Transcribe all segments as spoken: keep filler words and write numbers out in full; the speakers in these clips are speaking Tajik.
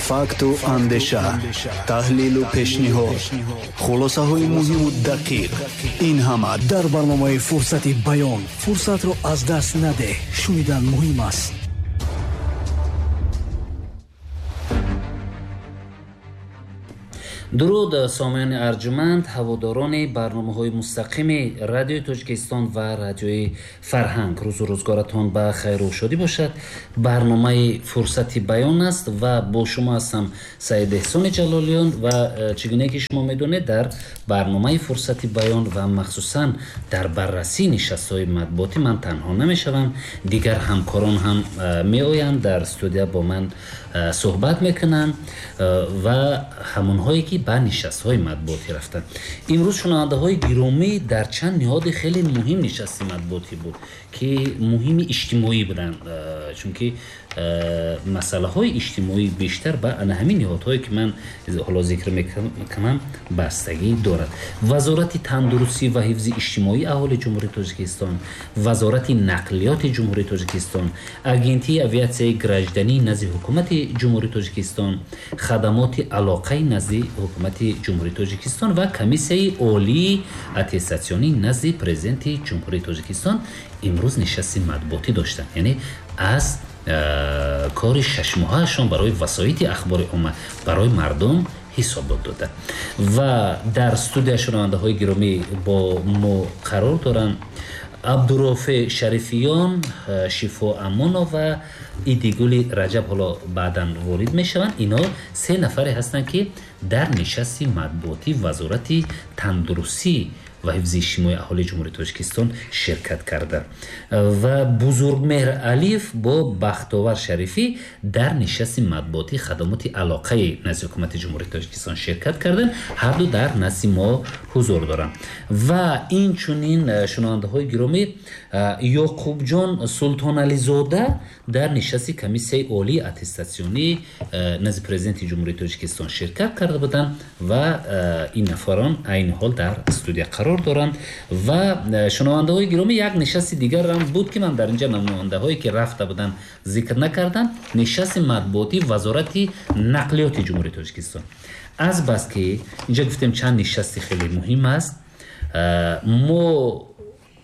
Факту андеша, таҳлилу пешниҳод, хулосаҳои муҳиму дақиқ. Ин ҳама дар барномаи «Фурсати баён». Фурсатро аз даст надеҳ, шунидан муҳим аст. Дуруд, сомиёни арҷуманд, ҳаводорони барномаҳои мустақими Радиои Тоҷикистон ва Радиои Фарҳанг. Рӯзу рӯзгоратон ба хайру шодӣ бошад. Барномаи «Фурсати баён» аст ва бо шумо ҳастам Саид Эҳсони Ҷалолиён. Ва чӣ гуне ки шумо медонед, дар барномаи «Фурсати баён» ва махсусан дар баррасии нишастҳои матбуотӣ ман танҳо намешавам, дигар ҳамкорон ҳам меоянд, дар студия бо ман суҳбат мекунанд ва ҳамонҳое ки ба нишастҳои матбуотӣ рафтанд. Имрӯз, шунавандаҳои гиромӣ, дар чанд ниҳоди хеле муҳим нишасти матбуотӣ буд, ки муҳими иҷтимоӣ буданд, чунки масъалаҳои иҷтимоӣ бештар ба ана ҳамин ниҳодҳое ки ман ҳоло зикр мекунам бастагӣ дорад. Вазорати тандурустӣ ва ҳифзи иҷтимоии аҳолии Ҷумҳурии Тоҷикистон, Вазорати нақлиёти Ҷумҳурии Тоҷикистон, Агентии авиатсияи граждании назди Ҳукумати Ҷумҳурии Тоҷикистон, Хадамоти алоқаи назди Ҳукумати Ҷумҳурии Тоҷикистон ва Комиссияи олии аттестатсионии назди Президенти Ҷумҳурии Тоҷикистон имрӯз нишасти матбуотӣ доштанд. Яъне аз кори шашмоҳаашон барои васоити ахбори омма, барои мардум ҳисобот дода. Ва дар студия, шунавандаҳои гиромӣ, бо мо қарор доранд Абдурофе Шарифиён, Шифо Амонова, Идигули Раҷаб, ҳоло баъдан ворид мешаванд. Ино се нафаре ҳастанд, ки дар нишасти матбуотӣ Вазорати тандурустӣ ва ҳифзи иҷтимоии аҳолии Ҷумҳурии Тоҷикистон ширкат карданд. Ва Бузургмеҳр Алиев бо Бахтовар Шарифӣ дар нишасти матбуотии хадамоти алоқаи назди Ҳукумати Ҷумҳурии Тоҷикистон ширкат карданд. Ҳарду дар назди мо ҳузур доранд. Ва инчунин, шунавандаҳои гиромӣ, Ёқубҷон Султонализода дар нишасти Комиссияи олии аттестатсионии назди Президенти Ҷумҳурии Тоҷикистон ширкат карда буданд ва ин нафарон айни ҳол дар студия қарор доранд. Ва, шунавандаҳои гиромӣ, як нишасти дигарам буд, ки ман дар инҷа намояндаҳое ки рафта буданд зикр накардам, нишасти матбуотии Вазорати нақлиёти Ҷумҳурии Тоҷикистон. Аз бас ки инҷа гуфтем чанд нишасти хеле муҳим аст, мо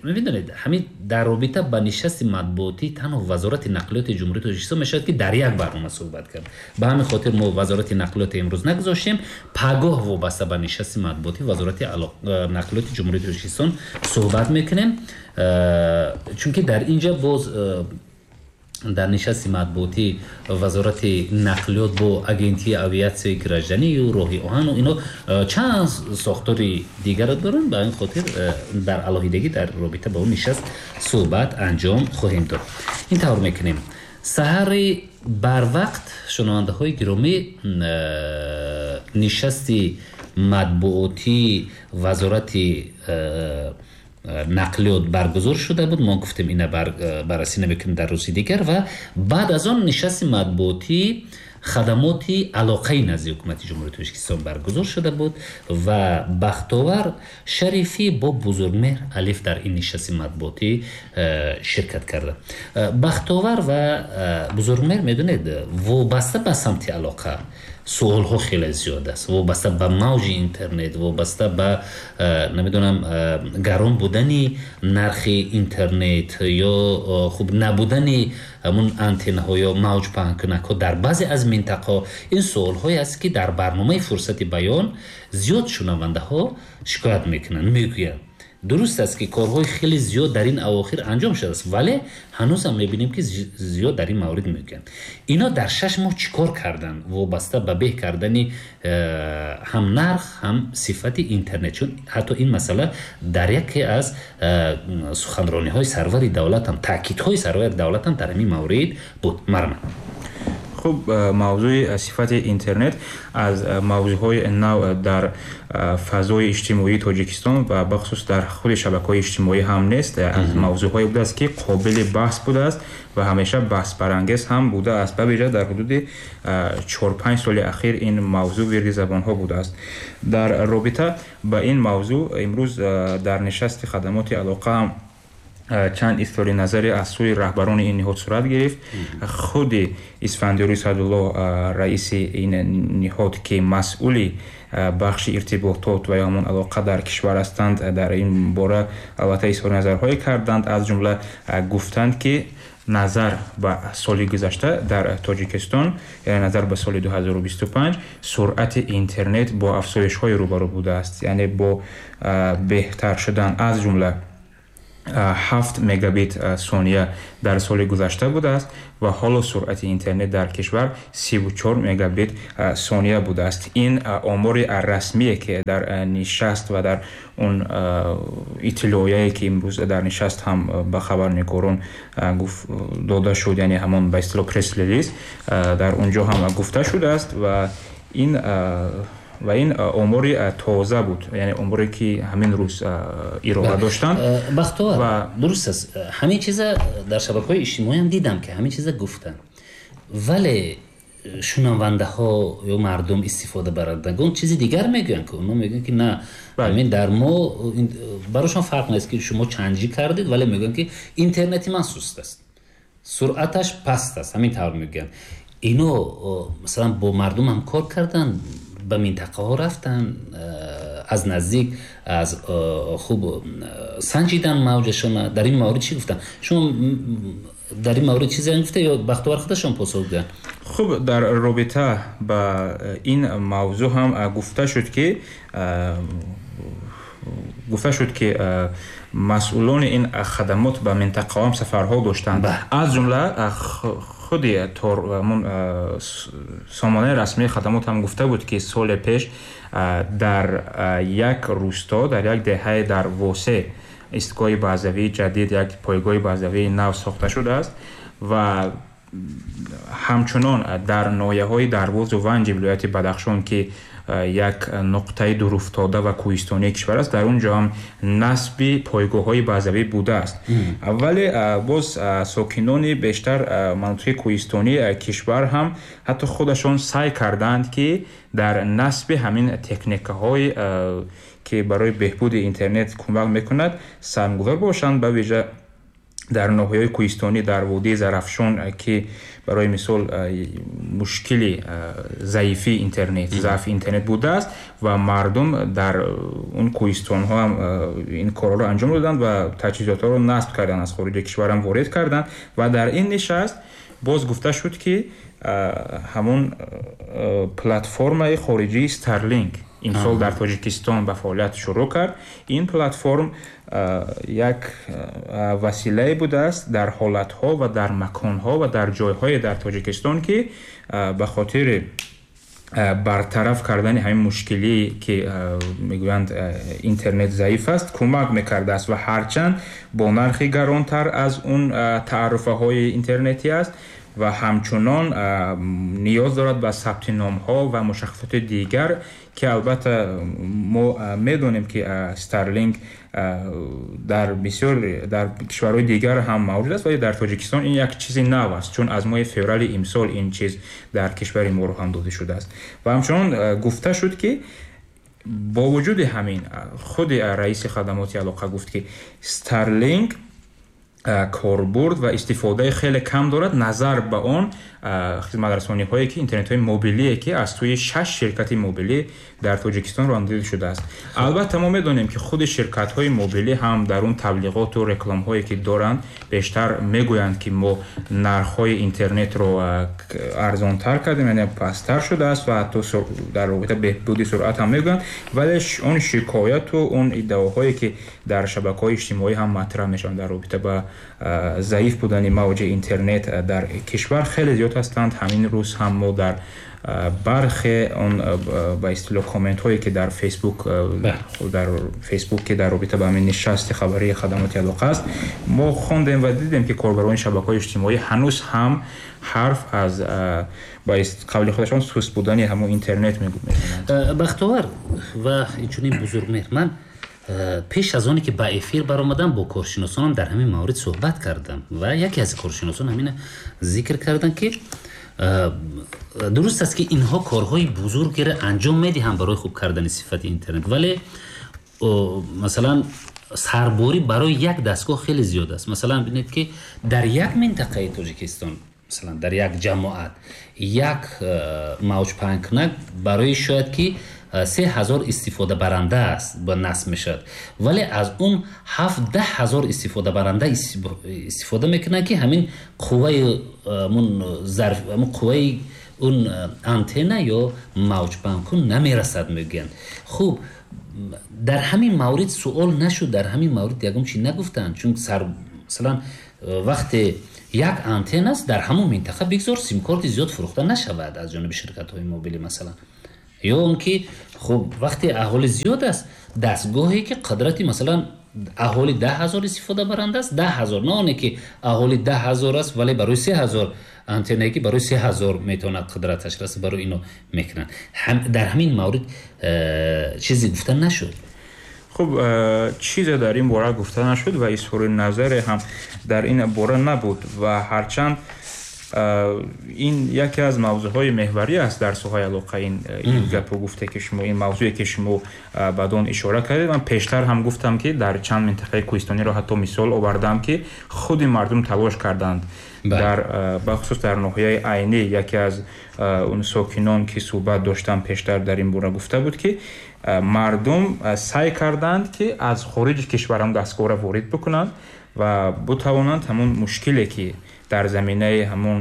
мебинед, ҳамин дар робита ба нишасти матбуотӣ танҳо Вазорати нақлиёти Ҷумҳурии Тоҷикистон мешавад ки дар як барнома суҳбат кард. Ба ҳамин хотир мо Вазорати нақлиёти имрӯз нагузоштем, пагоҳ вобаста ба нишасти матбуотӣ Вазорати нақлиёти Ҷумҳурии Тоҷикистон суҳбат мекунем, чунки дар инҷа боз дар нишасти матбуотӣ Вазорати нақлиёт бо Агентии авиатсияи гражданию роҳи оҳану ино чанд сохтори дигарро доранд. Ба ин хотир дар алоҳидагӣ дар робита ба он нишаст суҳбат анҷом хоҳем дод. Ин тавр мекунем. Саҳари барвақт, шунавандаҳои гиромӣ, нишасти матбуотии Вазорати нақлиёт баргузор шуда буд. Мо гуфтем, ина баррасӣ намекунем дар рӯзи дигар. Ва баъд аз он нишасти матбуотии хадамоти алоқаи назди Ҳукумати Ҷумҳурии Тоҷикистон баргузор шуда буд ва Бахтовар Шарифӣ бо Бузургмеҳр Алиф дар ин нишасти матбуотӣ ширкат карда. Бахтовар ва Бузургмеҳр, медонед, вобаста ба самти алоқа суолҳо хеле зиёд аст, вобаста ба мавҷи интернет, вобаста ба, намедонам, гарон будани нархи интернет ё хуб набудани ҳамун антеннаҳо ё мавҷ паҳнкунакҳо дар баъзе аз минтақаҳо. Ин суолҳое аст, ки дар барномаи «Фурсати баён» зиёд шунавандаҳо шикоят мекунанд, мегӯянд. Дуруст аст, ки корҳои хеле зиёд дар ин авохир анҷом шудааст, вале ҳанӯзам мебинем, ки зиёд дар ин маврид мегӯянд. Ино дар шаш моҳ чӣ кор карданд вобаста ба беҳ кардани э, ҳам нарх, ҳам сифати интернет? Чун ҳатто ин масъала дар яке аз э, суханрониҳои сарвари давлатам, таъкидҳои сарвари давлатам дар ҳамин маврид буд. Марман. Хуб, мавзӯи сифати интернет аз мавзӯъҳои нав дар фазои иҷтимоии Тоҷикистон ва бахусус дар худи шабакаҳои иҷтимоӣ ҳам нест. Аз мавзӯъҳое будааст, ки қобили баҳс будааст ва ҳамеша баҳсбарангез ҳам будааст. Ба вижа дар ҳудуди чор-панҷ соли ахир ин мавзӯъ вирди забонҳо будааст. Дар робита ба ин мавзӯъ имрӯз дар нишасти хадамоти алоқа ҳам Чанд изҳори назаре аз сӯи раҳбарони ин ниҳод сурат гирифт. Худи Исфандиёри Саъдулло, раиси ин ниҳод, ки масъули бахши иртиботот ва ё ҳамон алоқа дар кишвар ҳастанд, дар ин бора албатта изҳори назарҳое карданд. Аз ҷумла гуфтанд, ки назар ба соли гузашта дар Тоҷикистон, яъне назар ба соли ду ҳазору бисту панҷ, суръати интернет бо афзоишҳое рӯбарӯ будааст, яъне бо беҳтар шудан, аз ҷумла ҳафт мегабит сония дар соли гузашта будааст ва ҳоло суръати интернет дар кишвар сиву чор мегабит сония будааст. Ин омори расмие, ки дар нишаст ва дар он иттилояе, ки имрӯз дар нишаст ҳам ба хабарнигорон дода шуд, яъне ҳамон ба истилоҳ пресс-релиз дар он ҷо ҳам гуфта шудааст ва ин ва ин омори тоза буд, яъне оморе, ки ҳамин рӯз ироа доштанд. Бахтовар, дуруст аст, ҳамин чиза дар шабакаҳои иҷтимоиам дидам, ки ҳамин чиза гуфтанд, вале шунавандаҳо ё мардум, истифодабарандагон чизи дигар мегӯянд, ки онҳо мегӯянд, ки на, ҳамин дар мо барошон фарқ нест, ки шумо чанҷӣ кардед, вале мегӯянд, ки интернети ман суст аст, суръаташ паст аст, ҳамин тавр мегӯянд. Ино масалан бо мардум ҳам кор карданд, ба минтақаҳо рафтан, аз наздик аз хуб санҷидан мавҷашона. Дар ин маврид чӣ гуфтанд? Шумо дар ин маврид чизе гуфта ё Бахтовар худашон посух гӯянд? Хуб, дар робита ба ин мавзӯъ ҳам гуфта шуд, ки гуфта шуд ки масъулони ин хадамот ба минтақаҳо ҳам сафарҳо доштанд, аз ҷумла худи сомонаи расмии хадамот ҳам гуфта буд, ки соли пеш дар як рӯсто, дар як деҳае дар Восе истгоҳи базавии ҷадид, як пойгоҳи базавии нав сохта шудааст ва ҳамчунон дар ноҳияҳои Дарвозу Ванҷи вилояти Бадахшон, ки як нуқтаи дуруфтода ва кӯҳистонии кишвар аст, дар он ҷо ҳам насби пойгоҳҳои базавӣ будааст. Вале боз сокинони бештар манотиқи кӯҳистонии кишвар ҳам ҳатто худашон саъй карданд, ки дар насби ҳамин техникаҳои, ки барои беҳбуди интернет кӯмак мекунад, саҳмгузор бошанд, ба вижа дар ноҳияҳои кӯҳистонӣ дар водии Зарафшон, ки барои мисол мушкили заифии интернет, заъфи интернет будааст ва мардум дар он кӯҳистонҳо ҳам ин корҳоро анҷом доданд ва таҷҳизотҳоро насб карданд, аз хориҷи кишвар ҳам ворид карданд. Ва дар ин нишаст боз гуфта шуд, ки ҳамон платформаи хориҷии Starlink имсол дар Тоҷикистон ба фаъолият шурӯъ кард. Ин платформ як василае будааст дар ҳолатҳо ва дар маконҳо ва дар ҷойҳое дар Тоҷикистон, ки ба хотири бартараф кардани ҳамин мушкилие, ки мегӯянд интернет заиф аст, кӯмак мекардааст ва ҳарчанд бо нархи гаронтар аз он таърифаҳои интернетӣ аст ва ҳамчунон ниёз дорад ба сабти номҳо ва мушаххасоти дигар, ки албатта мо медонем, ки Starlink дар бисёр дар кишварҳои дигар ҳам мавҷуд аст, вале дар Тоҷикистон ин як чизи нав аст, чун аз моҳи феврали имсол ин чиз дар кишвари мо роҳандозӣ шудааст. Ва ҳамчунон гуфта шуд, ки бо вуҷуди ҳамин худи раиси хадамоти алоқа гуфт, ки Starlink корбурд ва истифодаи хеле кам дорад назар ба он хизматрасониҳое, ки интернетҳои мобилие, ки аз сӯи шаш ширкати мобилӣ дар Тоҷикистон роҳандозӣ шудааст. Албатта мо медонем, ки худи ширкатҳои мобилӣ ҳам дар он таблиғоту рекламҳое, ки доранд, бештар мегӯянд, ки мо нархҳои интернетро арзонтар кардем, яъне пасттар шудааст ва ҳатто дар робита беҳбуди суръат ҳам мегӯянд, вале он шикояту он иддаоҳое, ки дар шабакаҳои иҷтимоӣ ҳам матраҳ мешаванд дар робита ба заиф будани мавҷи интернет дар кишвар хеле зиёд ҳастанд. Ҳамин рӯз ҳам мо дар бархе он ба истилоҳ комментҳое, ки дар Фейсбук дар Фейсбук, ки дар робита ба ҳамин нишасти хабарии хадамоти алоқа аст, мо хондем ва дидем, ки корбарони шабакаҳои иҷтимоӣ ҳанӯз ҳам ҳарф аз ба қавли худашон суст будани ҳамон интернет мегӯянд. Бахтовар ва инчунин Бузургмеҳр, ман пеш аз оне ки ба эфир баромадам, бо коршиносонам дар ҳамин маврид суҳбат кардам ва яке аз коршиносон ҳамина зикр карданд, ки дуруст аст, ки инҳо корҳои бузургеро анҷом медиҳанд барои хуб кардани сифати интернет, вале масалан Сарборӣ барои як дастгоҳ хеле зиёд аст. Масалан, бинед, ки дар як минтақаи Тоҷикистон, масалан, дар як ҷамоат як мавҷпаҳнкунак барои шояд ки се ҳазор истифодабаранда аст ба насб мешавад, вале аз он ҳафт даҳ ҳазор истифодабаранда истифода мекунанд, ки ҳамин қувваи зарф, қувваи он антенна ё мавҷпаҳнкун намерасад, мегӯянд. Хуб, дар ҳамин маврид суол нашуд, дар ҳамин маврид ягон чи нагуфтанд, чун сар масалан вақте як антенна аст дар ҳамон минтақа, бигзор симкорти зиёд фурӯхта нашавад аз ҷониби ширкатҳои мобилӣ масалан. Ё он ки хуб, вақте аҳолӣ зиёд аст, дастгоҳе ки қудрати масалан аҳолӣ даҳ ҳазор истифодабаранда аст, даҳ ҳазор, на оне ки аҳолӣ даҳ ҳазор аст, вале барои се ҳазор антеннае ки барои се ҳазор метавонад қудраташ расад, барои ино мекунанд. Дар ҳамин маврид чизе гуфта нашуд. Хуб, чизе дар ин бора гуфта нашуд ва изҳори назаре ҳам дар ин бора набуд ва ҳарчанд ин яке аз мавзӯъҳои меҳварӣ аст дар соҳаи алоқа, ин гапу гуфте ки шумо, ин мавзӯе ки шумо бад он ишора кардед, ман пештар ҳам гуфтам ки дар чанд минтақаи кӯҳистониро ҳатто мисол овардам ки худи мардум талош карданд. Дар бахусус дар ноҳияи Айнӣ яке аз он сокинон ки суҳбат доштам пештар дар ин бора гуфта буд ки мардум саъй карданд ки аз хориҷи кишвар ҳам дастгоҳро ворид бикунанд ва бутавонанд ҳамон мушкиле ки дар заминаи ҳамон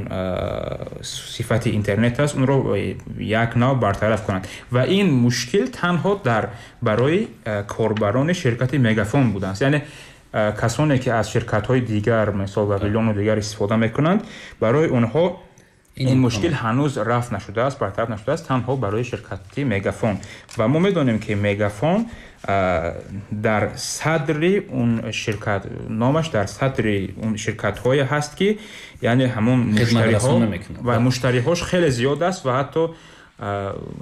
сифати интернет аст, онро як нав бартараф кунанд. Ва ин мушкил танҳо дар барои корбарони ширкати Мегафон будааст. Яъне касоне ки аз ширкатҳои дигар, мисол Вавилону дигар истифода мекунанд, барои онҳо ин мушкил ҳанӯз рафт нашудааст, бартараф нашудааст, танҳо барои ширкати Мегафон. Ва мо медонем ки Мегафон дар садри он ширкат, номаш дар садри он ширкатҳое ҳаст ки яъне ҳамон муштариҳо ва муштариҳош хеле зиёд аст ва ҳатто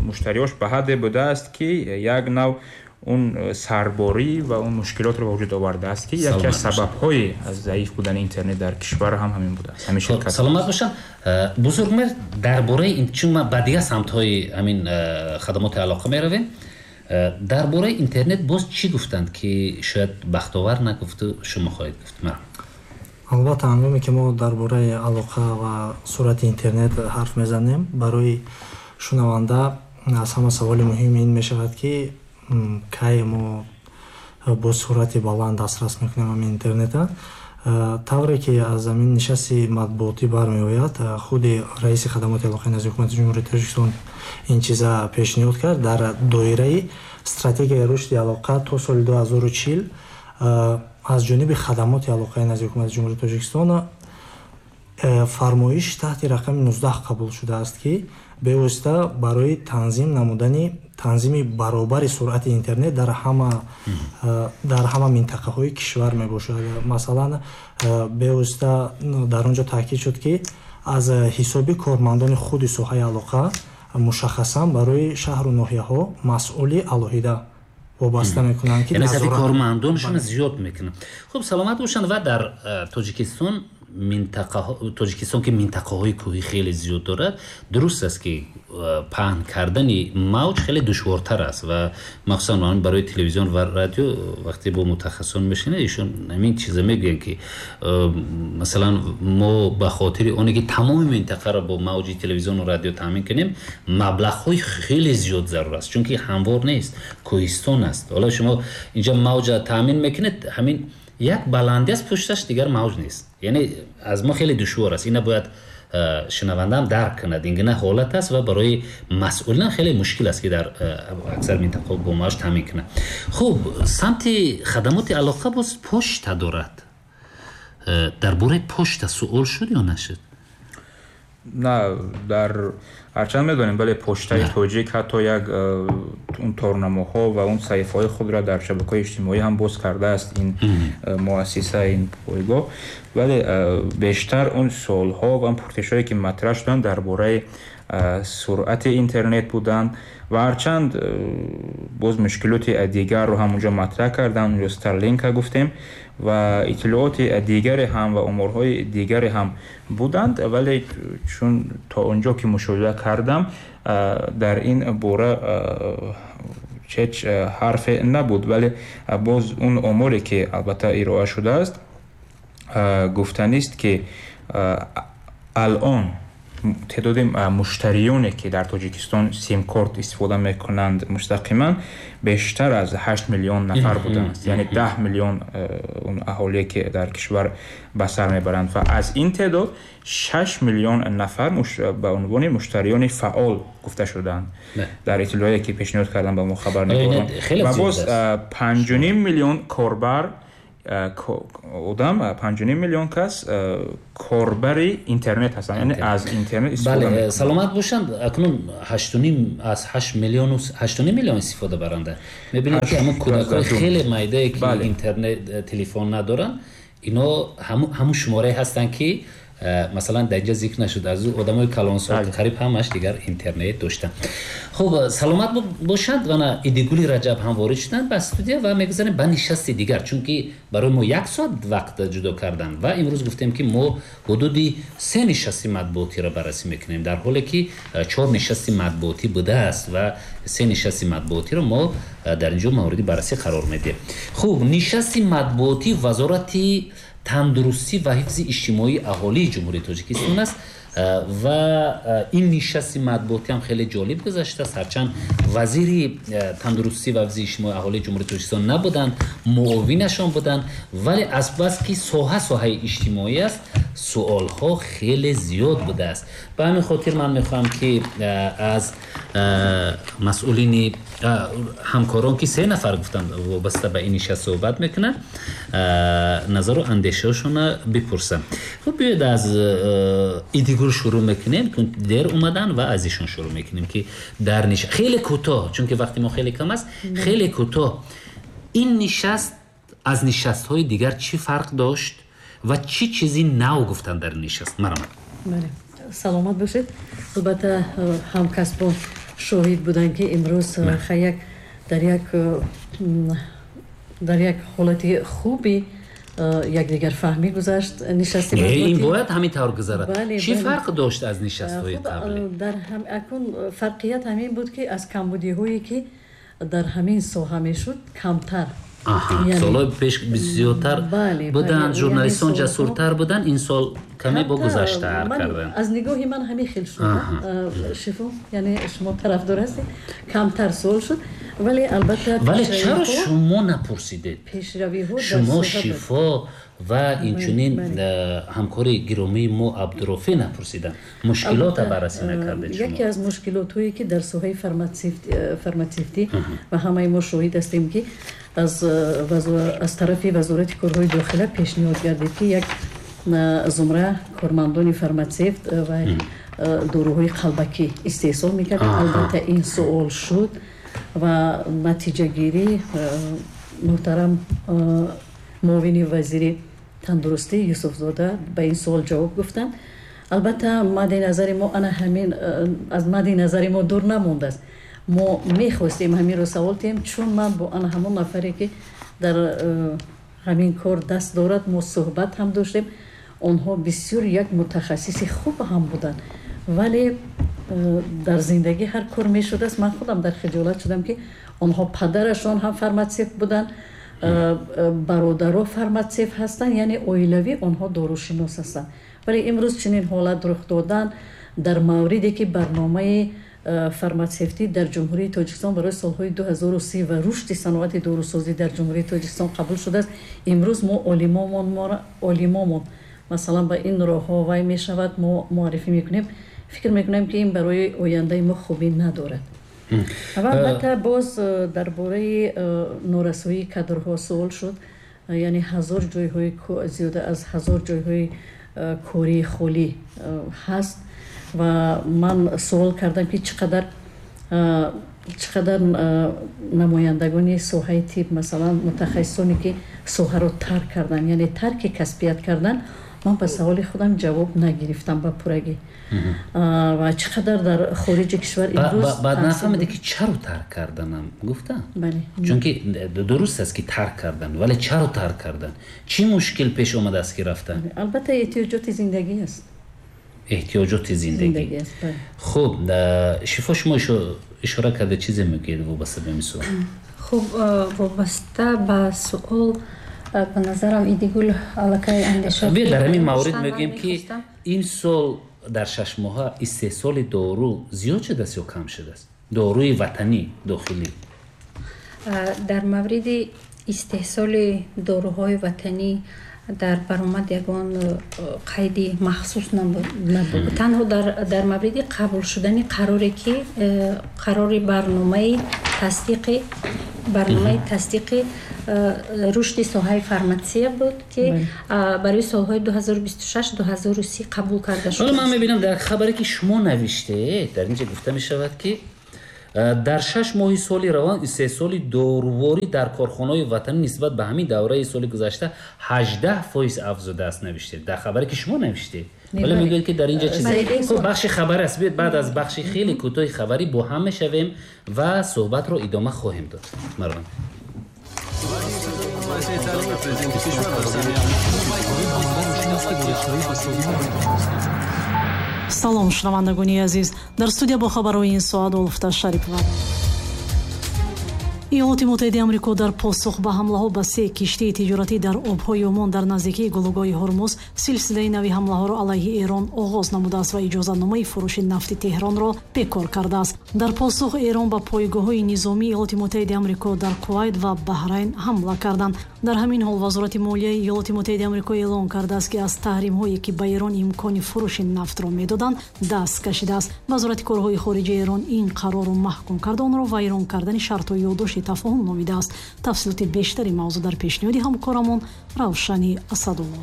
муштариҳош ба ҳадде будааст ки як нав он сарборӣ ва он мушкилотро ба вуҷуд овардааст ки яке аз сабабҳои заиф будани интернет дар кишвар ҳам ҳамин будааст. Ҳамин ширкат. Саломат бошанд. Бузургмеҳр, дар бораи, чун ма ба дигар самтҳои ҳамин хадамоти алоқа меравем, дар бораи интернет боз чӣ гуфтанд ки шояд Бахтовар нагуфту шумо хоҳед гуфт? Ман албатта ҳангоме ки мо дар бораи алоқа ва суръати интернет ҳарф мезанем, барои шунаванда аз ҳама саволи муҳим ин мешавад ки кай мо бо суръати баланд дастрас мекунем ҳамин интернета. Тавре ки аз ҳамин нишасти матбуотӣ бармеояд, худи раиси хадамоти алоқаи назди ҳукумати Ҷумҳурии Тоҷикистон ин чиза пешниҳод кард дар доираи стратегияи рушди алоқа то соли ду ҳазору чил аз ҷониби хадамоти алоқаи назди ҳукумати Ҷумҳурии Тоҷикистон фармоиш таҳти рақами нуздаҳ қабул шудааст ки бевосита барои танзим намудани танзими баробари суръати интернет дар ҳама дар ҳама минтақаҳои кишвар мебошад. Масалан, бевосита дар он ҷо таъкид шуд ки аз ҳисоби кормандони худи соҳаи алоқа мушаххасан барои шаҳру ноҳияҳо масъули алоҳида вобаста мекунанд ки яъне сафи кормандонашон зиёд мекунанд. Хуб, саломат бошанд. Ва дар Тоҷикистон минтақаҳо, Тоҷикистон ки минтақаҳои кӯҳӣ хеле зиёд дорад, дуруст аст ки паҳн кардани мавҷ хеле душвортар аст ва махсусан барои телевизион ва радио вақте бо мутахассисон мешинед, ишон ҳамин чиза мегӯянд ки масалан мо ба хотири оне ки тамоми минтақаро бо мавҷи телевизиону радио таъмин кунем, маблағҳои хеле зиёд зарур аст, чунки ҳамвор нест, кӯҳистон аст. Ҳоло шумо инҷа мавҷа таъмин мекунед, ҳамин як баландӣ аст, пушташ дигар мавҷ нест. Яъне аз мо хеле душвор аст. Ина бояд шунавандаам дарк кунад. Ин гуна ҳолат аст ва барои масъулин хеле мушкил аст ки дар аксар минтақаҳо бо мавҷ таъмин кунад. Хуб, самти хадамоти алоқа боз пошта дорад. Дар бораи пошта суол шуд ё нашуд? На, дар ҳарчанд медонем, бале, поштаи тоҷик ҳатто як он торнамоҳо ва он саҳифаҳои худро дар шабакаҳои иҷтимоӣ ҳам боз кардааст ин муассиса, ин пойгоҳ. Вале бештар он суолҳо ва он пурсишҳое ки матраҳ шуданд дар бораи суръати интернет буданд ва ҳарчанд боз мушкилоти дигарро ҳам онҷо матраҳ карданд, онҷо Старлинка гуфтем ва иттилооти дигаре ҳам ва оморҳои дигаре ҳам буданд, вале чун то онҷо ки мушоҳида кардам дар ин бора ҳеҷ ҳарфе набуд, вале боз он оморе ки албатта ироа шудааст, гуфтанист ки алон теъдоди муштариёне ки дар Тоҷикистон симкорт истифода мекунанд мустақиман бештар аз ҳашт миллион нафар будааст, яъне даҳ миллион он аҳолие ки дар кишвар ба сар мебаранд ва аз ин теъдод шаш миллион нафар ба унвони муштариёни фаъол гуфта шудаанд дар иттилоие ки пешниҳод карданд ба мо хабарнигорон. Ва боз панҷу ним миллион корбар одам, панҷу ним миллион кас корбари интернет ҳастанд, яъне аз интернет истифода мекунанд. Саломат бошанд. Акнун ҳашту ним аз ҳашт миллиону ҳашту ним миллион истифода баранда. Мебинед ки ҳамон кӯдакҳои хеле майдае ки интернет, телефон надоранд, ино ҳамун шуморае ҳастанд ки масалан дар инҷа зикр нашуд, аз одамои калонсол қариб ҳамаш дигар интернет доштанд. Хуб, саломат бошанд. Вана Идигули Раҷаб ҳам ворид шуданд ба студия ва мегузарем ба нишасти дигар, чунки барои мо як соат вақт ҷудо карданд ва имрӯз гуфтем ки мо ҳудуди се нишасти матбуотиро баррасӣ мекунем, дар ҳоле ки чор нишасти матбуотӣ будааст ва се нишасти матбуотиро мо дар инҷо мавриди баррасӣ қарор медиҳем. Хуб, нишасти матбуотӣ Вазорати тандурустӣ ва ҳифзи иҷтимоии аҳолии Ҷумҳурии Тоҷикистон аст ва ин нишасти матбуотӣ ҳам хеле ҷолиб гузаштааст. Ҳарчанд вазири тандурустӣ ва ҳифзи иҷтимоии аҳолии Ҷумҳурии Тоҷикистон набуданд, муовинашон буданд, вале азбаски соҳа соҳаи иҷтимоӣ аст, суолҳо хеле зиёд будааст. Ба ҳамин хотир ман мехоҳам ки аз масъулини ҳамкорон ки се нафар гуфтанд вобаста ба ин нишаст суҳбат мекунанд, назару андешаҳошонро бипурсам. Хуб, биёед аз Идигул шурӯъ мекунем, дер омадан ва аз ишон шурӯъ мекунем ки дар нишаст хеле кӯтоҳ, чунки вақти мо хеле кам аст, хеле кӯтоҳ ин нишаст аз нишастҳои дигар чӣ фарқ дошт ва чӣ чизи нав гуфтанд дар нишаст? Марамад. Бале, саломат бошед. Албатта ҳамкасбон шоҳид буданд ки имрӯз як дар як дар як ҳолати хуби якдигарфаҳмӣ гузашт нишасти матбуотӣ. Ин бояд ҳамин тавр гузарад. Чӣ фарқ дошт аз нишастҳои қаблӣ? Дар акун фарқият ҳамин буд ки аз камбудиҳое ки дар ҳамин соҳа мешуд камтар. Солҳои пеш бисёртар буданд, журналистон ҷасуртар буданд, ин сол каме бо гузаштаар карданд. Аз нигоҳи ман ҳамин хел шуд. Шифо, яъне шумо тарафдор ҳастед, камтар суол шуд, вале албатта вале чаро шумо напурсидед? Пешравиҳо шумо Шифо ва инчунин ҳамкори гиромии мо Абдурофӣ напурсиданд, мушкилотро баррасӣ накардед шумо. Яке аз мушкилотҳое ки дар соҳаи фарматсевтӣ ва ҳамаи мо шоҳид ҳастем ки аз аз тарафи Вазорати корҳои дохила пешниҳод гардид ки як зумра кормандони фарматсевт ва доруҳои қалбакӣ истеҳсол мекарданд. Албатта ин суол шуд ва натиҷагирӣ муҳтарам муовини вазири тандурустӣ Юсуфзода ба ин суол ҷавоб гуфтанд. Албатта мадди назари мо ана ҳамин аз мадди назари мо дур намондааст. Мо мехостем ҳаминро савол диҳем, чун ман бо ана ҳамон нафаре ки дар ҳамин кор даст дорад мо суҳбат ҳам доштем. Онҳо бисёр як мутахассиси хуб ҳам буданд, вале дар зиндагӣ ҳар кор мешудааст. Ман худам дар хиҷолат шудам ки онҳо падарашон ҳам фарматсевт буданд, бародаро фарматсевт ҳастанд, яъне оилавӣ онҳо дорушинос ҳастанд. Вале имрӯз чунин ҳолат рух додан дар мавриде ки барномаи фарматсевтӣ дар Ҷумҳурии Тоҷикистон барои солҳои ду ҳазору се ва рушди саноати дорусозӣ дар Ҷумҳурии Тоҷикистон қабул шудааст. Имрӯз мо олимомон олимомон масалан ба ин роҳҳо вай мешавад, мо муаррифӣ мекунем. Фикр мекунем ки ин барои ояндаи мо хубӣ надорад. Ва албатта боз дар бораи норасоии кадрҳо суол шуд, яъне ҳазор ҷойҳои зиёда аз ҳазор ҷойҳои кории холӣ ҳаст ва ман суол кардам ки чӣ қадар чӣ қадар намояндагони соҳаи тиб, масалан мутахассисоне ки соҳаро тарк карданд, яъне тарки касбият карданд, ман ба саволи худам ҷавоб нагирифтам ба пурагӣ. Ва чӣ қадар дар хориҷи кишвар имрӯз баъд нафаҳмиде ки чаро тарк карданам гуфтам, чунки дуруст аст ки тарк кардан, вале чаро тарк кардан, чӣ мушкил пеш омадааст ки рафтан? Албатта эҳтиёҷоти зиндагӣ аст. Эҳтиёҷоти зиндагӣ. Хуб, Шифо, шумо ишора карда чизе мегӯед вобаста ба ин суол? Хуб, вобаста ба суол, ба назарам Идигул аллакай андеша. Биё дар ҳамин маврид мегӯем, ки имсол дар шаш моҳа истеҳсоли дору зиёд шудааст ё кам шудааст? Доруи ватанӣ, дохилӣ. Дар мавриди истеҳсоли доруҳои ватанӣ дар баромад ягон қайди махсус набуд. Танҳо дар мавриди қабул шудани қароре ки қарори барномаи тасдиқи барномаи тасдиқи рушди соҳаи фарматсия буд, ки барои солҳои ду ҳазору бисту шаш ду ҳазору си қабул карда шуд. Ҳоло ман мебинам дар хабаре ки шумо навиштед, дар инҷа гуфта мешавад, ки дар шаш моҳи соли равон истеҳсоли доруворӣ дар корхонаҳои ватанӣ нисбат ба ҳамин давраи соли гузашта ҳаждаҳ фоиз афзудааст, навиштед дар хабаре ки шумо навиштед. Вале мегӯяд, ки дар инҷа чизе. Хуб, бахши хабар аст. Биёед баъд аз бахши хеле кӯтоҳи хабарӣ бо ҳам мешавем ва суҳбатро идома хоҳем дод. Марван. Салом, шунавандагони азиз. Дар студия бо хабарҳои ин соат Улфта Шарипова. Иёлоти Муттаҳидаи Амрико дар посух ба ҳамлаҳо ба се киштии тиҷоратӣ дар обҳои Омон дар наздикии гулӯгоҳи Ҳурмуз силсилаи нави ҳамлаҳоро алайҳи Эрон оғоз намудааст ва иҷозатномаи фурӯши нафти Теҳронро бекор кардааст. Дар посух Эрон ба пойгоҳҳои низомии Иёлоти Муттаҳидаи Амрико дар Кувайт ва Баҳрайн ҳамла карданд. Дар ҳамин ҳол Вазорати молияи Иёлоти Муттаҳидаи Амрико эълон кардааст, ки аз таҳримҳое ки ба Эрон имкони фурӯши нафтро медоданд даст кашидааст. Вазорати корҳои хориҷаи Эрон ин қарорро маҳкум карда, онро вайрон кардани шартҳои ёддошти тафоҳум номидааст. Тафсилоти бештари мавзӯъ дар пешниҳоди ҳамкорамон Равшани Асадулло.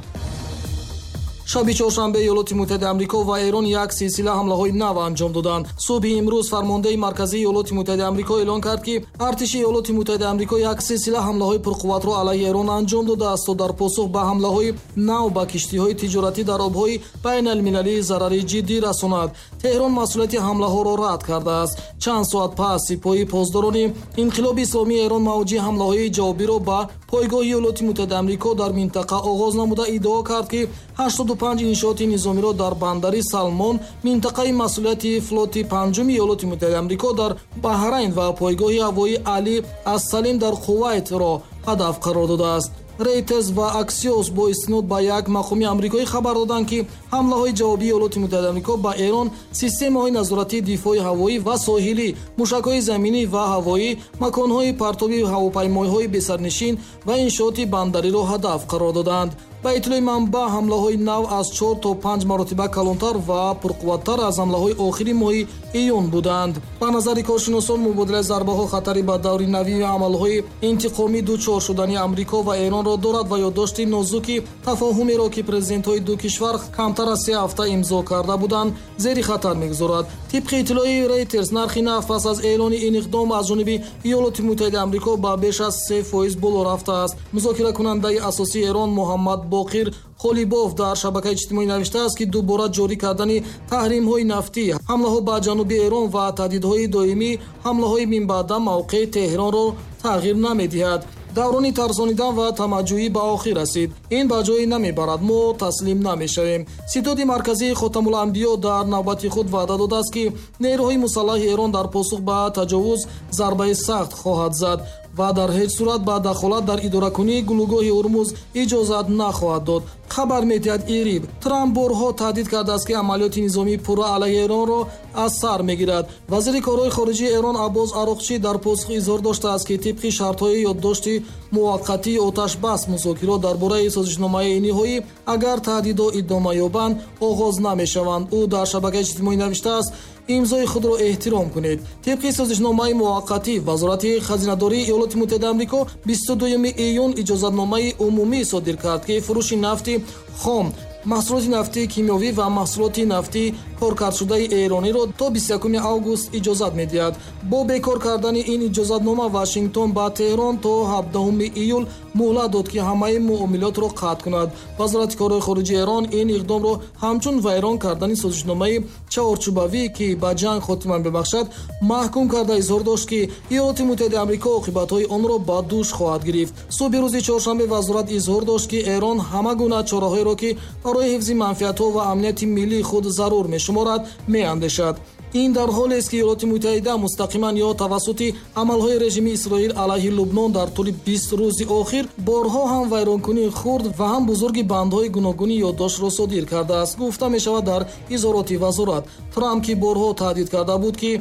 Шаби чоршанбе Иёлоти Муттаҳидаи Амрико ва Эрон як силсила ҳамлаҳои нав анҷом доданд. Субҳи имрӯз фармондеҳи марказии Иёлоти Муттаҳидаи Амрико эълон кард, ки артиши Иёлоти Муттаҳидаи Амрико як силсила ҳамлаҳои пурқувватро алайҳи Эрон анҷом додааст то дар посух ба ҳамлаҳои нав ба киштиҳои тиҷоратӣ дар обҳои байналмилалӣ зарари ҷиддӣ расонад. Теҳрон масъулияти ҳамлаҳоро рад кардааст. Чанд соат пас сипоҳи посдорони инқилоби исломии Эрон мавҷи ҳамлаҳои ҷавобиро ба пойгоҳи Иёлоти Муттаҳидаи Амрико дар минтақа оғоз намуда иддао кард, ки ҳаштоду панҷ иншооти низомиро дар бандари Салмон, минтақаи масъулияти флоти панҷуми Иёлоти Муттаҳидаи Амрико дар Баҳрайн ва пойгоҳи ҳавоии Али ас-Салим дар Кувайтро ҳадаф қарор додааст. Рейтерс ва Аксиос бо истинод ба як мақоми амрикоӣ хабар доданд, ки ҳамлаҳои ҷавобии Иёлоти Муттаҳидаи Амрико ба Эрон системаҳои назоратии дифои ҳавоӣ ва соҳилӣ, мушакҳои заминӣ ва ҳавоӣ, маконҳои партоби ҳавопаймоҳои бесарнишин ва иншооти бандариро ҳадаф қарор доданд. Ба иттилои манбаъ, ҳамлаҳои нав аз чор то панҷ маротиба калонтар ва пурқувваттар аз ҳамлаҳои охири моҳи июн буданд. Ба назари коршиносон, мубодилаи зарбаҳо хатари ба даври нави амалҳои интиқомӣ дучор шудани Амрико ва Эронро дорад ва ёддошти нозуки тафоҳумеро, ки президентҳои ду кишвар камтар аз се ҳафта имзо карда буданд, зери хатар мегузорад. Тибқи иттилои Рейтерс, нархи нафт пас аз эълони ин иқдом аз ҷониби Иёлоти Муттаҳидаи Амрико ба беш аз се фоиз боло рафтааст. Музокиракунандаи асосии Эрон Муҳаммад Боқир Қолибоф дар шабакаи иҷтимоӣ навиштааст, ки дубора ҷорӣ кардани таҳримҳои нафтӣ, ҳамлаҳо ба ҷануби Эрон ва таҳдидҳои доимӣ ҳамлаҳои минбаъда мавқеи Теҳронро тағйир намедиҳад. Даврони тарсонидан ва тамаҷҷӯӣ ба охир расид. Ин ба ҷое намебарад, мо таслим намешавем. Ситоди марказии Хотамуланбиё дар навбати худ ваъда додааст, ки нерӯҳои мусаллаҳи Эрон дар посух ба таҷовуз зарбаи сахт хоҳад зад ва дар ҳеҷ сурат ба дахолат дар идоракунии гулӯгоҳи Ҳурмуз иҷозат нахоҳад дод. Хабар медиҳад Ириб. Трамп борҳо таҳдид кардааст, ки амалиёти низомии пурра алайҳи Эронро аз сар мегирад. Вазири корҳои хориҷии Эрон Аббос Ароқчӣ дар посух изҳор доштааст, ки тибқи шартҳои ёддошти муваққатии оташбас музокирот дар бораи созишномаи ниҳоӣ агар таҳдидҳо идома ёбанд оғоз намешаванд. Ӯ дар шабакаи иҷтимоӣ навиштааст: имзои худро эҳтиром кунед. Тибқи созишномаи муваққатӣ, Вазорати хазинадории Иёлоти Муттаҳидаи Амрико бисту дуюми июн иҷозатномаи умумӣ содир кард, ки фурӯши нафти хом, маҳсулоти нафтии кимиёвӣ ва маҳсулоти нафтии коркардшудаи эрониро то бисту якуми август иҷозат медиҳад. Бо бекор кардани ин иҷозатнома Вашингтон ба Теҳрон то ҳабдаҳуми июл муҳлат дод, ки ҳамаи муомилотро қатъ кунад. Вазорати корҳои хориҷии Эрон ин иқдомро ҳамчун вайрон кардани созишномаи чаҳорчӯбавӣ, ки ба ҷанг хотима мебахшад, маҳкум карда изҳор дошт, ки Иёлоти Муттаҳидаи Амрико оқибатҳои онро ба дӯш хоҳад гирифт. Субҳи рӯзи чоршанбе вазорат изҳор дошт, ки Эрон ҳама гуна чораҳоеро, ки барои ҳифзи манфиатҳо ва амнияти миллии худ зарур мешуморад, меандешад. Ин дар ҳолест, ки Иёлоти Муттаҳида мустақиман ё тавассути амалҳои режими Исроил алайҳи Лубнон дар тӯли бист рӯзи охир борҳо ҳам вайронкунии хурд ва ҳам бузурги бандҳои гуногуни ёддоштро содир кардааст, гуфта мешавад дар изҳороти вазорат. Трамп, ки борҳо таҳдид карда буд, ки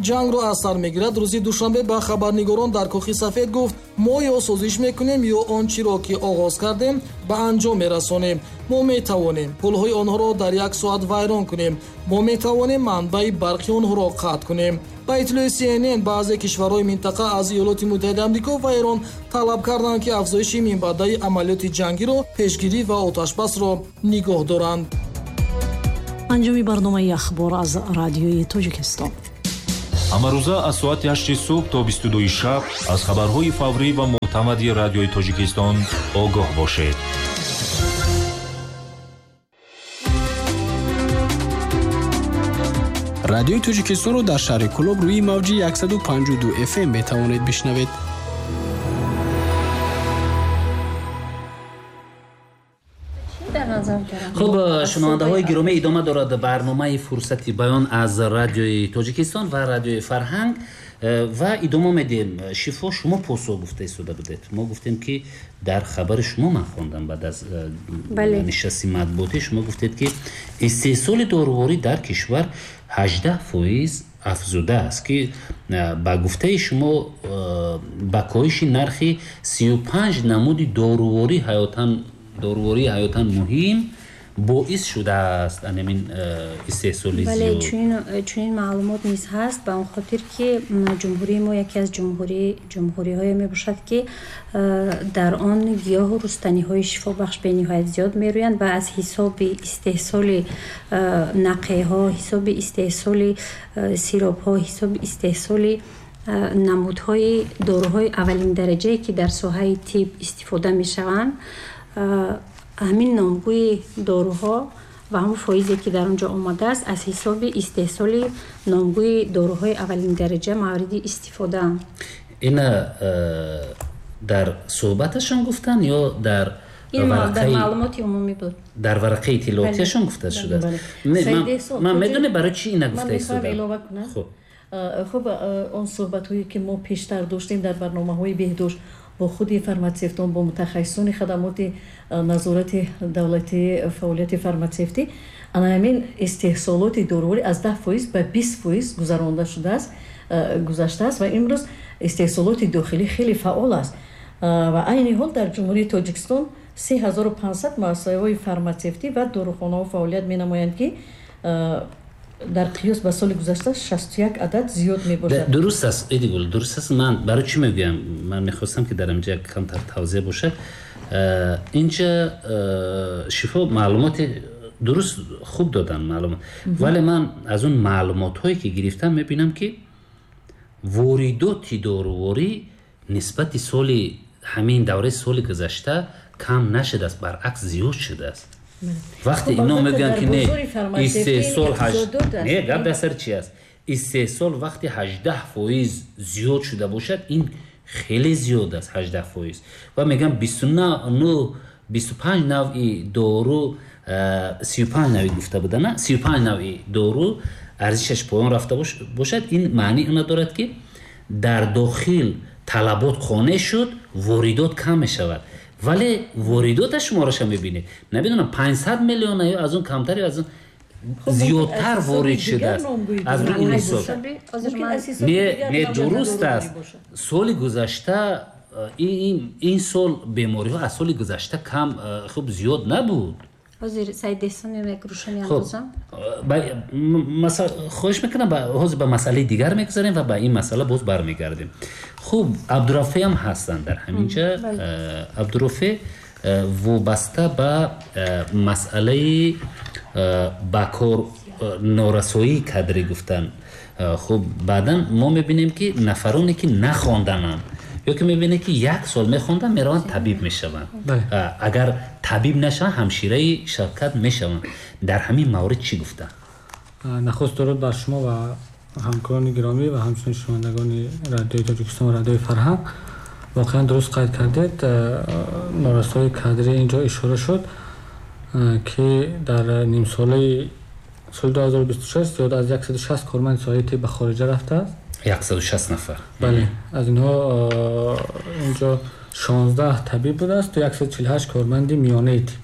ҷангро аз сар мегирад, рӯзи душанбе ба хабарнигорон дар Кохи Сафед гуфт: мо ё созиш мекунем, ё он чиро, ки оғоз кардем, ба анҷом мерасонем. Мо метавонем пулҳои онҳоро дар як соат вайрон кунем. Мо метавонем манбаи барқи онҳоро қатъ кунем. Ба иттилои Си Эн Эн, баъзе кишварҳои минтақа аз Иёлоти Муттаҳидаи Амрико ва Эрон талаб карданд, ки афзоиши минбаъдаи амалиёти ҷангиро пешгирӣ ва оташбасро нигоҳ доранд. Анҷоми барномаи ахбор аз Радиои Тоҷикистон. Ҳамарӯза аз соати ҳашти субҳ то бисту дуи шаб аз хабарҳои фаврӣ ва мӯътамади Радиои Тоҷикистон огоҳ бошед. Радиои Тоҷикистонро дар шаҳри Кӯлоб рӯи мавҷи яксаду панҷоҳу ду Эф Эм метавонед бишнавед. Хуб, шунавандаҳои гиромӣ, идома дорад барномаи Фурсати баён аз Радиои Тоҷикистон ва Радиои Фарҳанг ва идома медиҳем. Шифо, шумо посух гуфта истода будед. Мо гуфтем, ки дар хабари шумо ман хондам баъд аз нишасти матбуотӣ, шумо гуфтед, ки истеҳсоли доруворӣ дар кишвар ҳаждаҳ фоиз афзудааст, ки ба гуфтаи шумо ба коҳиши нархи сию панҷ намуди доруворӣ ҳаётан дорувории ҳаётан муҳим боис шудааст ҳамин истеҳсоли зиёд. Бале, чунин чунин маълумот низ ҳаст, ба он хотир, ки ҷумҳурии мо яке аз ҷумҳурӣ ҷумҳуриҳое мебошад, ки дар он гиёҳу рустаниҳои шифобахш бениҳоят зиёд мерӯянд ва аз ҳисоби истеҳсоли нақеҳо, ҳисоби истеҳсоли сиропҳо, ҳисоби истеҳсоли намудҳои доруҳои аввалин дараҷае, ки дар соҳаи тиб истифода мешаванд, ҳамин номгӯи доруҳо ва ҳамон фоизе, ки дар он ҷо омадааст, аз ҳисоби истеҳсоли номгӯи доруҳои аввалин дараҷа мавриди истифодаанд. Ина дар суҳбаташон гуфтанд ё дар дар маълумоти умумӣ буд? Дар варақаи иттилоотиашон гуфта шудааст. Ман медонем барои чӣ ина гуфта истодам. Хуб, хуб, он суҳбатҳое, ки мо пештар доштем дар барномаҳои беҳдошт бо худи фарматсевтон, бо мутахассисони хадамоти назорати давлатии фаъолияти фарматсевтӣ, ана ҳамин истеҳсолоти доруворӣ аз даҳ фоиз ба бист фоиз гузаронда шудааст, гузаштааст ва имрӯз истеҳсолоти дохилӣ хеле фаъол аст. Ва айни ҳол дар Ҷумҳурии Тоҷикистон се ҳазору панҷсад муассисаҳои фарматсевтӣ ва дорухонаҳо фаъолият менамоянд, ки дар қиёс ба соли гузашта шасту як адад зиёд мебошад. Дуруст аст, Эдигул, дуруст аст. Ман барои чӣ мегӯям? Ман мехостам, ки дар инҷа камтар тавзеҳ бошад. Инҷа Шифо маълумоти дуруст хуб додан маълумот, вале ман аз он маълумотҳое, ки гирифтам, мебинам, ки воридоти доруворӣ нисбати соли ҳамин давраи соли гузашта кам нашудааст, баръакс зиёд шудааст. Вақте ино мегӯянд, ки не, истеҳсол не, гап дар сари чи аст? Истеҳсол вақте ҳаждаҳ фоиз зиёд шуда бошад, ин хеле зиёд аст, ҳаждаҳ фоиз. Ва мегӯям бисту нӯ бисту панҷ навъи дору, сию панҷ навъи гуфта буда, на сию панҷ навъи дору арзишаш поён рафта бошад, ин маънии она дорад, ки дар дохил талабот қонеъ шуд, воридот кам мешавад. Вале воридота шумораша мебинед, намедонам панҷсад миллиона ё аз он камтар ё аз он зиёдтар ворид шудааст. Аз рӯи ин ҳисоб не, не, дуруст аст. Соли гузашта ин сол бемориҳо аз соли гузашта кам, хуб, зиёд набуд. Ҳозир Саид Эҳсон як рӯшанӣ андозам. Хоҳиш мекунам, ҳозир ба масъалаи дигар мегузарем ва ба ин масъала боз бармегардем. Хуб, Абдурафеъ ҳам ҳастанд дар ҳамин ҷа. Абдурафеъ вобаста ба масъалаи ба кор Норасоии кадрӣ гуфтан. Хуб, баъдан мо мебинем, ки нафароне ки нахондананд ё ки мебинем, ки як сол мехонданд, мераванд табиб мешаванд. Агар табиб нашаванд, ҳамшираи шавкат мешаванд. Дар ҳамин маврид чӣ гуфтанд? Нахуст дуруд бар шумо ва ҳамкорони гиромӣ ва ҳамчунин шунавандагони радиои Тоҷикистон ва радиои Фарҳанг. Воқеан дуруст қайд кардед, норасоии кадрӣ инҷо ишора шуд, ки дар нимсолаи соли ду ҳазору бисту шаш зиёд аз яксаду шаст корманди соҳаи тиб ба хориҷа рафтааст. Яксаду шаст нафар. Бале, аз инҳо инҷо шонздаҳ табиб будааст ва яксаду чилу ҳашт корманди миёнаи тиб,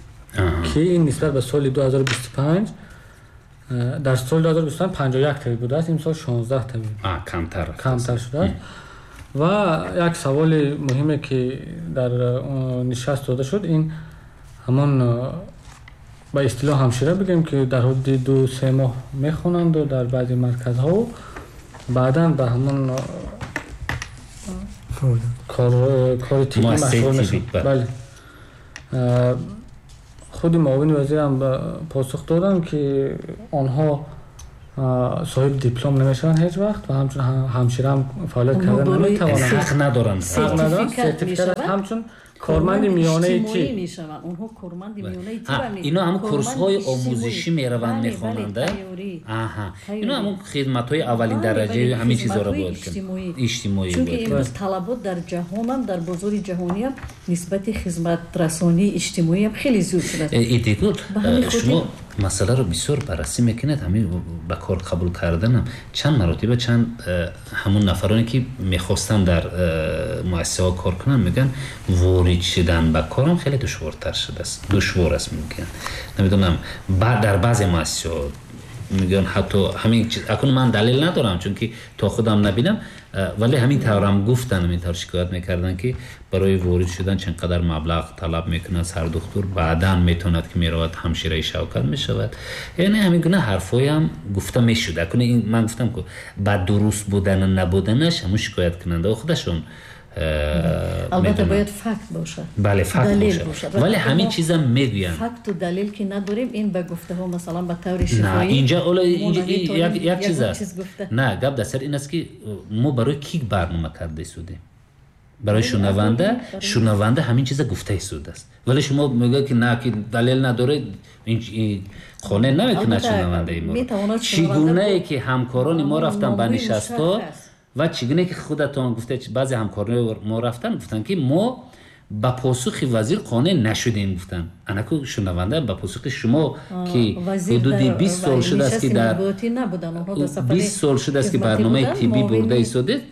ки ин нисбат ба соли ду ҳазору бисту панҷ, дар соли ду ҳазору бисту панҷ панҷоҳу як табиб будааст, имсол шонздаҳ табиб. Камтар камтар шудааст. Ва як саволи муҳиме, ки дар нишаст дода шуд, ин ҳамон ба истилоҳ ҳамшира бигем, ки дар ҳудуди ду се моҳ мехонанду дар баъзе марказҳо баъдан ба ҳамон кори тиббӣ машғул мешаванд. Бале, худи муовини вазирам посух додам, ки онҳо соҳиби диплом намешаванд ҳеҷ вақт ва ҳамчун ҳамшираам фаъолият карда наметавонанд. Ҳақ надоранд. Ҳақ надоранд. Сертификат ҳамчун корманди миёнаи тиб мешаванд. Онҳо корманди миёнаи тиб. Ино ҳамон курсҳои омӯзишӣ мераванд, мехонанд. Аҳа, ино ҳамон хидматҳои аввалин дараҷаи ҳамин чизҳоро бояд кунанд. Иҷтимоӣ. Чунки имрӯз талабот дар ҷаҳонам, дар бозори ҷаҳониам нисбати хизматрасонии иҷтимоиам хеле зиёд шудааст. Идигул, шумо масъаларо бисёр баррасӣ мекунед, ҳамин ба кор қабул карданам чанд маротиба чанд ҳамон нафароне ки мехостанд дар муассисаҳо кор кунанд, мегӯянд ворид шудан ба корам хеле душвортар шудааст, душвор аст мегӯянд. Намедонам, дар баъзе муассисаҳо мегӯянд ҳатто ҳамин чиз, акнун ман далел надорам, чунки то худам набинам, вале ҳамин таврам гуфтанд, ҳамин тавр шикоят мекарданд, ки барои ворид шудан чанд қадар маблағ талаб мекунад сардухтур, баъдан метавонад ки меравад ҳамшираи шавкат мешавад. Яъне ҳамин гуна ҳарфҳоям гуфта мешуд. Акнун ман гуфтам, ки ба дуруст будану набуданаш ҳамон шикояткунандаҳо худашон албатта бояд факт бошад. Бале, факт бошад. Вале ҳамин чизам мегӯянд. Факту далел ки надорем, ин ба гуфтаҳо масалан ба таври шифоӣ. На, инҷа ҳоло як чиз аст. На, гап дар сар ин аст, ки мо барои кӣ барнома карда истодем? Барои шунаванда, шунаванда ҳамин чиза гуфта истодааст. Вале шумо мегӯед, ки на, ки далел надоред, ин қонеъ намекунад шунавандаи моро. Чӣ гунае ки ҳамкорони мо рафтанд ба нишастҳо ва чӣ гуна ки худатон гуфта, баъзе ҳамкорони мо рафтанд, гуфтанд, ки мо ба посухи вазир қонеъ нашудем, гуфтанд. Анаку шунаванда ба посухи шумо, ки ҳудуди бист сол шудааст, ки дар бист сол шудааст, ки барномаи тиббӣ бурда истодед,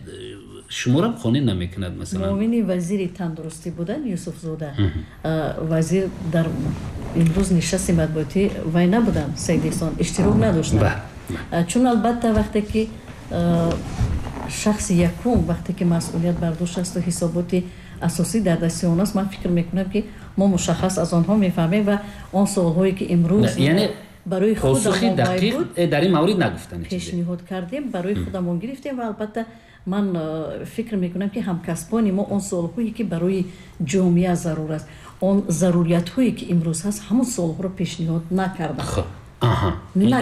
шуморо қонеъ намекунад. Масалан, муовини вазири тандурустӣ буданд Юсуфзода. Вазир дар имрӯз нишасти матбуотӣ вай набуданд, Саид Эҳсон иштирок надоштанд. Чун албатта вақте ки шахси якум, вақте ки масъулият бар дӯш аст ва ҳисоботи асосӣ дар дасти он аст, ман фикр мекунам, ки мо мушаххас аз онҳо мефаҳмем ва он суолҳое ки имрӯз яъне барои посухи худамон дақиқ буд, дар ин маврид нагуфтанд, пешниҳод кардем, барои худамон гирифтем ва албатта ман фикр мекунам, ки ҳамкасбони мо он суолҳое ки барои ҷомеа зарур аст, он заруриятҳое ки имрӯз ҳаст, ҳамон суолҳоро пешниҳод накарданд. Аҳа,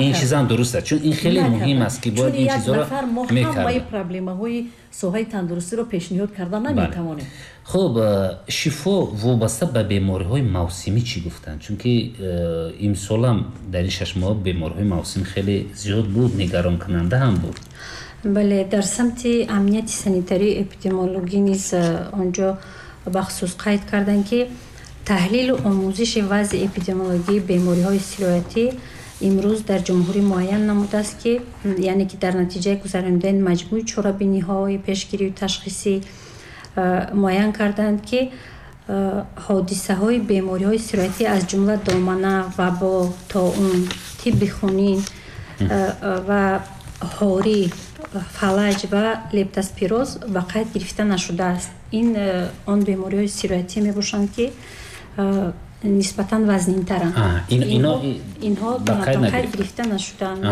ин чизам дуруст аст, чун ин хеле муҳим аст, ки бояд ин чизҳоро мо ҳамаи проблемаҳои соҳаи тандурустиро пешниҳод карда наметавонем. Хуб, шифо вобаста ба бемориҳои мавсимӣ чӣ гуфтанд? Чунки имсолам дар ин шаш моҳ бемориҳои мавсимӣ хеле зиёд буд, нигаронкунанда ҳам буд. Бале, дар самти амнияти санитарию эпидемиологӣ низ онҷо бахусус қайд карданд, ки таҳлилу омӯзиши вазъи эпидемиологии бемориҳои сироятӣ имрӯз дар ҷумҳурӣ муайян намудааст, ки яъне ки дар натиҷаи гузаронидани маҷмӯи чорабиниҳои пешгирию ташхисӣ муайян карданд, ки ҳодисаҳои бемориҳои сироятӣ аз ҷумла домана, вабо, тоун, тибби хунин ва ҳорӣ, фалаҷ ва лептоспироз ба қайд гирифта нашудааст. Ин он бемориҳои сироятӣ мебошанд, ки нисбатан вазнинтаранд. Инҳо ба қайд гирифта нашудаанд.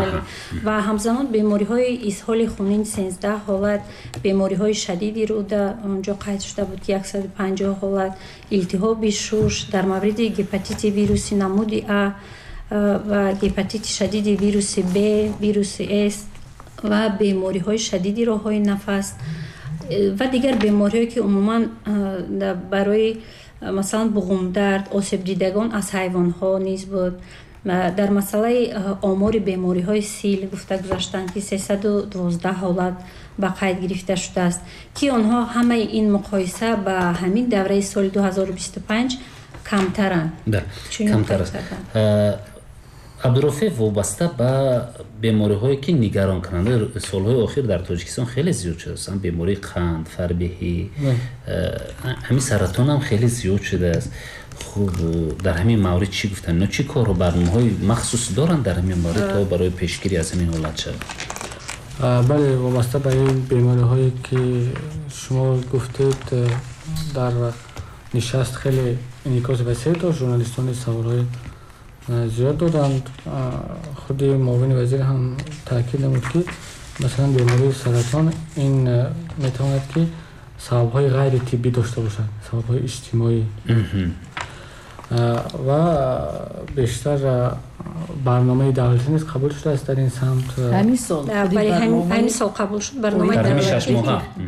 Ва ҳамзамон бемориҳои изҳоли хунин сенздаҳ ҳолат, бемориҳои шадиди рӯда онҷо қайд шуда буд, ки яксаду панҷоҳ ҳолат, илтиҳоби шуш дар мавриди гепатити вируси намуди А ва гепатити шадиди вируси Б, вируси С ва бемориҳои шадиди роҳҳои нафас ва дигар бемориҳое ки умуман барои масалан буғумдард, осебдидагон аз ҳайвонҳо низ буд. Дар масъалаи омори бемориҳои сил гуфта гузаштанд, ки сесаду дувоздаҳ ҳолат ба қайд гирифта шудааст, ки онҳо ҳамаи ин муқоиса ба ҳамин давраи соли ду ҳазору бисту панҷ камтаранд. Камтар аст. Абдурофеъ, вобаста ба бемориҳое ки нигаронкунанда солҳои охир дар Тоҷикистон хеле зиёд шудааст, бемории қанд, фарбеҳӣ, ҳамин саратон ҳам хеле зиёд шудааст. Хуб, дар ҳамин маврид чӣ гуфтанд? Ино чӣ кору барномаҳои махсус доранд дар ҳамин маврид то барои пешгирӣ аз ҳамин ҳолат шавад? Бале, вобаста ба ин бемориҳое ки шумо гуфтед, дар нишаст хеле инъикоси васеъ дошт. Журналистони саволҳои зиёд доданд. Худи муовини вазир ҳам таъкид намуд, ки масалан бемории саратон ин метавонад ки сабабҳои ғайритиббӣ дошта бошад, сабабҳои иҷтимоӣ ва бештар барномаи давлатӣ низ қабул шудааст дар ин самт. Ҳамин сол ҳамин сол қабул шуд барномаи давлатӣ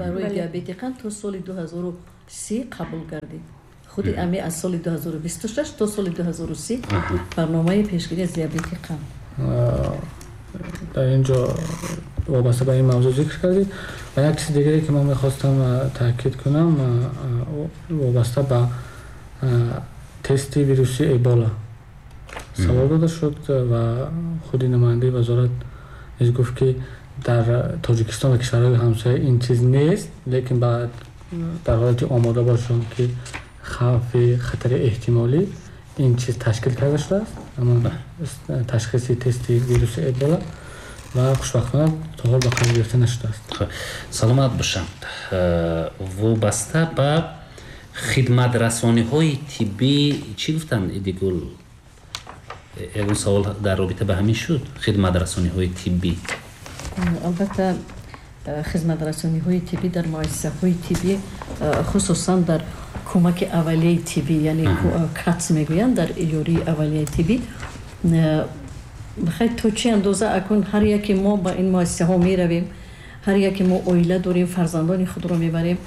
барои диабети қанд то соли ду ҳазору си қабул гардид. Худи ами аз соли ду ҳазору бисту шаш то соли ду ҳазору си барномаи пешгирӣ аз диабети қанд. Дар ин ҷо вобаста ба ин мавзӯъ зикр кардед. Ва як чизи дигаре ки ман мехостам таъкид кунам, вобаста ба тести вируси Эбола савол дода шуд ва худи намояндаи вазорат низ гуфт, ки дар Тоҷикистон ва кишварҳои ҳамсоя ин чиз нест, лекин дар ҳолати омода бошанд, ки хавфи хатари эҳтимолӣ ин чиз ташкил карда шудааст, аммо ташхиси тести вируси Эбола ва хушбахтона то ҳол ба қайд гирифта нашудааст. Саломат бошанд. Вобаста ба хидматрасониҳои тиббӣ чӣ гуфтанд, Идигул? Ягон савол дар робита ба ҳамин шуд? Хидматрасониҳои тиббӣ. Албатта, хизматрасониҳои тиббӣ дар муассисаҳои тиббӣ, хусусан дар кӯмаки аввалияи тиббӣ, яъне КАТС мегӯянд, дар ёрии аввалияи тиббӣ, бихай то чӣ андоза акун ҳар яке мо ба ин муассисаҳо меравем, ҳар яке мо оила дорем, фарзандони худро мебарем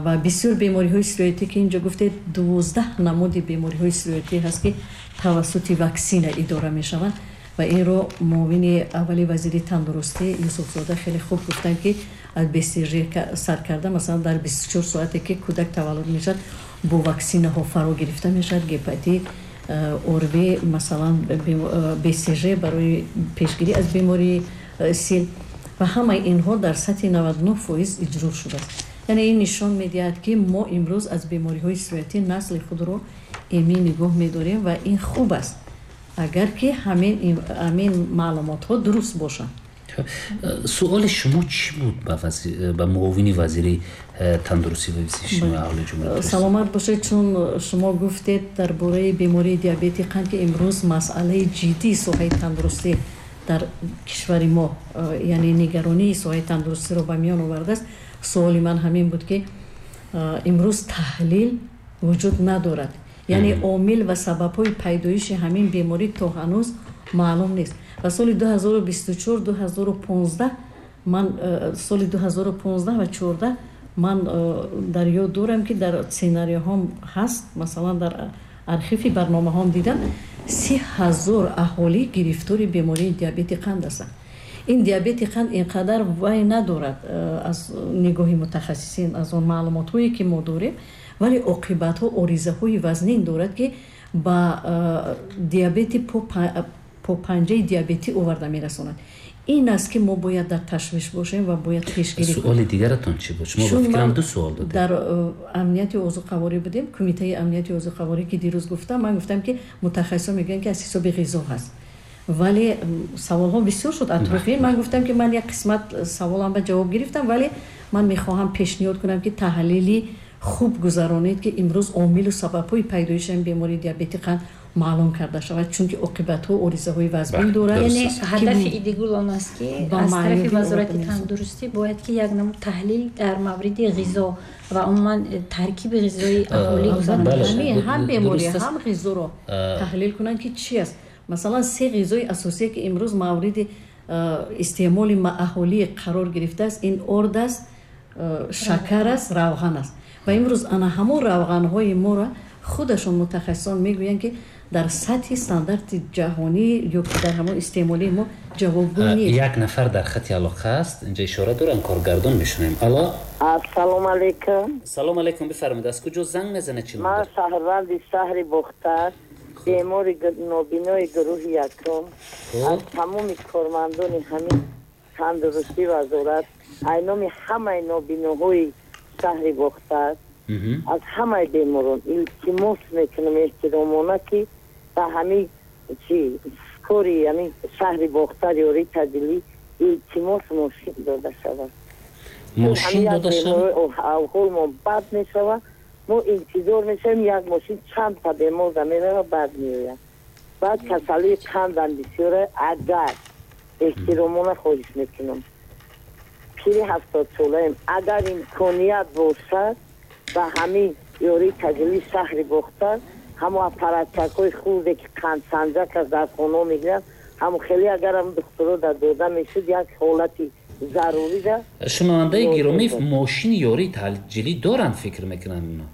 ва бисёр бемориҳои сироятӣ ки инҷо гуфтед, дувоздаҳ намуди бемориҳои сироятӣ ҳаст, ки тавассути ваксина идора мешаванд ва инро муовини аввали вазири тандурустӣ Юсуфзода хеле хуб гуфтанд, ки аз БСЖ сар карда, масалан дар бисту чор соате ки кӯдак таваллуд мешавад, бо ваксинаҳо фаро гирифта мешавад. Гепатит, ОРВИ, масалан БСЖ барои пешгирӣ аз бемории сил ва ҳамаи инҳо дар сатҳи наваду нӯҳ фоиз иҷро шудааст. Яъне ин нишон медиҳад, ки мо имрӯз аз бемориҳои сироятӣ насли худро эмин нигоҳ медорем ва ин хуб аст, агар ки ҳамин маълумотҳо дуруст бошанд. Суоли шумо чӣ буд ба муовини вазири тандурустӣ ва ҳифзи иҷтимоии аҳолии ҷумҳурии Тоҷикистон? Саломат бошед, чун шумо гуфтед дар бораи бемории диабети қанд, ки имрӯз масъалаи ҷиддии соҳаи тандурустӣ дар кишвари мо, яъне нигаронии соҳаи тандурустиро ба миён овардааст. Суоли ман ҳамин буд, ки имрӯз таҳлил вуҷуд надорад, яъне омил ва сабабҳои пайдоиши ҳамин беморӣ то ҳанӯз маълум нест. Ва соли ду ҳазору бисту чор, ду ҳазору понздаҳ ман соли ду ҳазору понздаҳ ва чордаҳ ман дар ёд дорам, ки дар сценарияҳом ҳаст, масалан дар архиви барномаҳом дидам, си ҳазор аҳолӣ гирифтори бемории диабети қанд ҳастанд. Ин диабети қанд инқадар вай надорад аз нигоҳи мутахассисин, аз он маълумотҳое ки мо дорем, вале оқибатҳо, оризаҳои вазнин дорад, ки ба диабети попанҷаи диабетӣ оварда мерасонад. Ин аст, ки мо бояд дар ташвиш бошем ва бояд пешгирӣ кунем. Суоли дигаратон чӣ буд? Шумо ба фикрам ду суол додед. Дар амнияти озуқаворӣ будем, кумитаи амнияти озуқаворӣ, ки дирӯз гуфтам, ман гуфтам, ки мутахассисон мегӯянд, ки аз ҳисоби ғизо ҳаст, вале саволҳо бисёр шуд атрофи. Ман гуфтам, ки ман як қисмат саволам ба ҷавоб гирифтам, вале ман мехоҳам пешниҳод кунам, ки таҳлили хуб гузаронед, ки имрӯз омилу сабабҳои пайдоиши ин бемории диабети қанд маълум карда шавад, чунки оқибатҳо, оризаҳои вазнин дорад. Яъне ҳадафи Идигул он аст, ки аз тарафи вазорати тандурустӣ бояд ки як намуд таҳлил дар мавриди ғизо ва умуман таркиби ғизои аҳолӣ гузаронида шавад. Ҳам беморӣ, ҳам ғизоро таҳлил кунанд, ки чи аст. Масалан, се ғизои асосие, ки имрӯз мавриди истеъмоли аҳолӣ қарор гирифтааст, ин орд аст, шакар аст, равған аст. Ва имрӯз ана ҳамон равғанҳои моро худашон мутахассисон мегӯянд, ки дар сатҳи стандарти ҷаҳонӣ ё ки дар ҳамон истеъмолии мо ҷавобгӯ нест. Як нафар дар хати алоқа аст, инҷа ишора дорам, коргардон мешунавем. Алло, ассалому алайкум. Салом алайкум, бифармоед, аз куҷо занг мезанед, чӣ ном? Ман шаҳрванди шаҳри Бохтар, бемори нобинои гурӯҳи якум. Аз тамоми кормандони ҳамин тандурустӣ вазорат, аз номи ҳамаи нобиноҳои шаҳри Бохтар, аз ҳамаи беморон илтимос мекунам эҳтиромона, ки ба ҳамин чи кори ҳамин шаҳри Бохтар ёрии таъҷилӣ илтимос мошин дода шавад. Мошин дода шавад? Аҳволмон бад мешавад, мо интизор мешавем, як мошин чанд та бемор мерава, баъд меояд. Баъд касалии қандам бисёра. Агар эҳтиромона хоҳиш мекунам, пири ҳафтодсолаем, агар имконият бошад, ба ҳамин ёрии таъҷилии шаҳри Бохтар ҳамо аппаратчакҳои хурде, ки қандсанҷак аз дар хонаҳо мегиранд, ҳамо хеле агар ҳам духтуро дар дода мешуд, як ҳолати зарурӣ да. Шунавандаи гиромӣ, мошини ёрии таъҷилӣ доранд, фикр мекунам, ино.